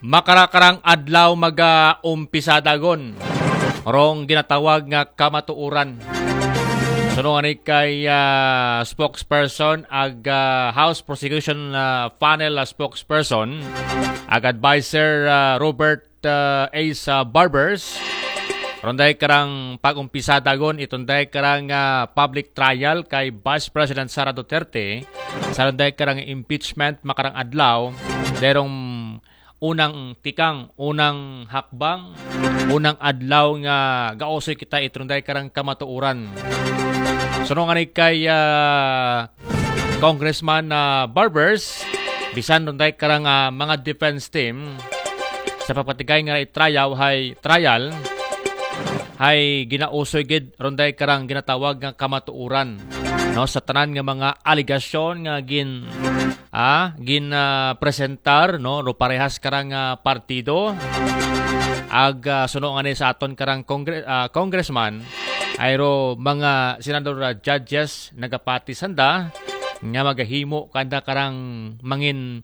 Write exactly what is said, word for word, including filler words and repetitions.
Makarakarang adlaw mag-umpisa dagon rong ginatawag nga kamatuoran. Suno ngani kay ah, spokesperson ag ah, House Prosecution ah, Panel ah, spokesperson ag advisor ah, Robert ah, Ace ah, Barbers. Ronday karang pag-umpisa dagon itonday karang ah, public trial kay Vice President Sara Duterte. Sa ronday karang impeachment makarang adlaw, derong unang tikang, unang hakbang, unang adlaw nga gaosoy kita itronday karang kamatuoran. Suno ngani kay ah, Congressman ah, Barbers, bisan ronday karang ah, mga defense team sa pagpatigay nga trial hay trial hay ginausoy gid ronday karang ginatawag nga kamatuoran, no, sa tanan nga mga alegasyon nga gin ah, gin ah, presentar, no, no parehas karang ah, partido. Ag ah, suno ngani sa aton karang congre- ah, congressman, ayro mga senador ah, judges nagapati sanda nga magahimo kanda karang mangin